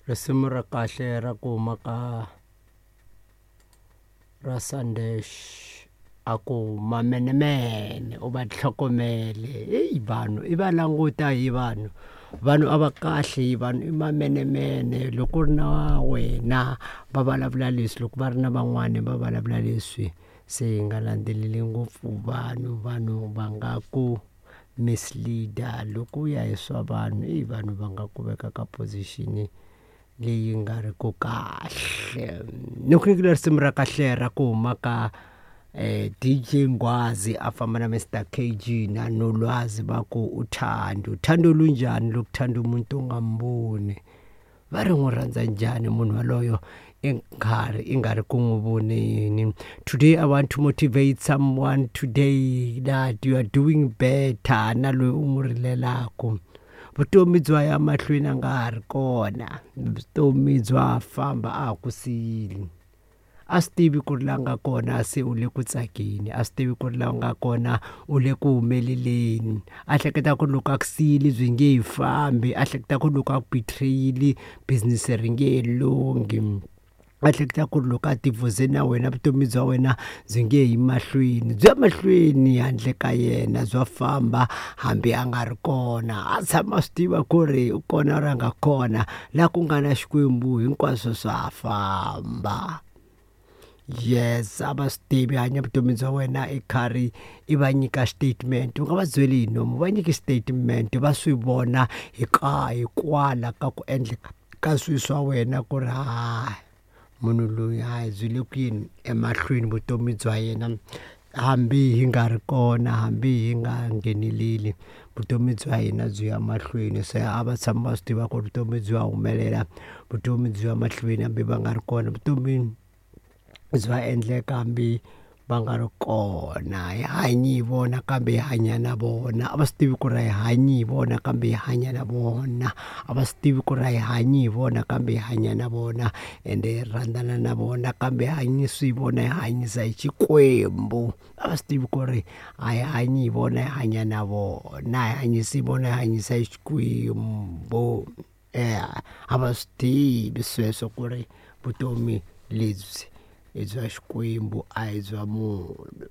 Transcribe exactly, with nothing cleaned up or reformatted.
Risimu ra kahle ra ku huma ka ra Sandesh a ku mamenemene u va tlhogomele heyi vanhu i va languta hi vanhu vanhu a va kahle vanhu i mamenemene loko u ri na wena va vulavula leswi loko va ri na van'wani va vulavula leswi se hi nga landzeleli ngopfu vanhu vanhu va nga ku mislead-a loko u ya hi swa vanhu i vanhu va nga ku veka ka position leyi nga ri ku kahle ni ku nyikile risimu ra kahle ra ku huma ka eh, D J Nghwazi a famba na Mister K G na Nolwazi va ku uthando uthando lunjani lokuthanda umuntu ungamboni va ri n'wi rhandza njhani munhu waloyo i nkarhi i nga ri ku n'wi voneni. Today I want to motivate someone today that you are doing better na loyi u n'wi rilelaka. Vutomi bya ya mahlweni a nga ha ri kona, vutomi bya famba a ha ku siyile. A swi tivi ku ri la nga kona se u le ku tsakeni, a swi tivi ku ri la nga kona u le ku humeleleni. A hleketa ku loko a ku siyile byi nge he fambi, a hleketa ku loko a ku betrayile business ri nge he lunghi. A hleketa ku ri loko a divorce na wena vutomi bya wena byi nge yi mahlweni, byi ya mahlweni handle ka yena bya famba hambi a nga ri kona. A tshama a swi tiva ku ri u kona ra nga kona laha ku nga na Xikwembu hinkwaswo swa famba. Yes, a va swi tivi hanya vutomi bya wena i karhi i va nyika statement u nga va byeli hi nomu va nyiki statement va swi vona hi ka hikwala ka ku endleka ka swilo swa wena ku ri hayi munhu loyi hayi byi le ku yeni emahlweni vutomi bya yena hambi hi nga ri kona hambi hi nga ngheneleli vutomi bya hina byi ya mahlweni. Se a va tshama va swi tiva ku vutomi byi ya humelela vutomi byi ya mahlweni hambi va nga ri kona vutomi bya endleka hambi va nga ri kona. Hi hanyi hi vona kambe hi hanya na vona, a va swi tivi ku ri hi hanyi hi vona kambe hi hanya na vona, a va swi tivi ku ri hi hanyi hi vona kambe hi hanya na vona ende hi rhandzana na vona kambe hi hanyisi hi vona hi hanyisa hi Xikwembu. A va swi tivi ku ri a hi hanyi hi vona hi hanya na vona, hi hanyisi hi vona hi hanyisa hi Xikwembu. A va swi tivi sweswo ku ri vutomi lebyi i bya Xikwembu a hi bya munhu.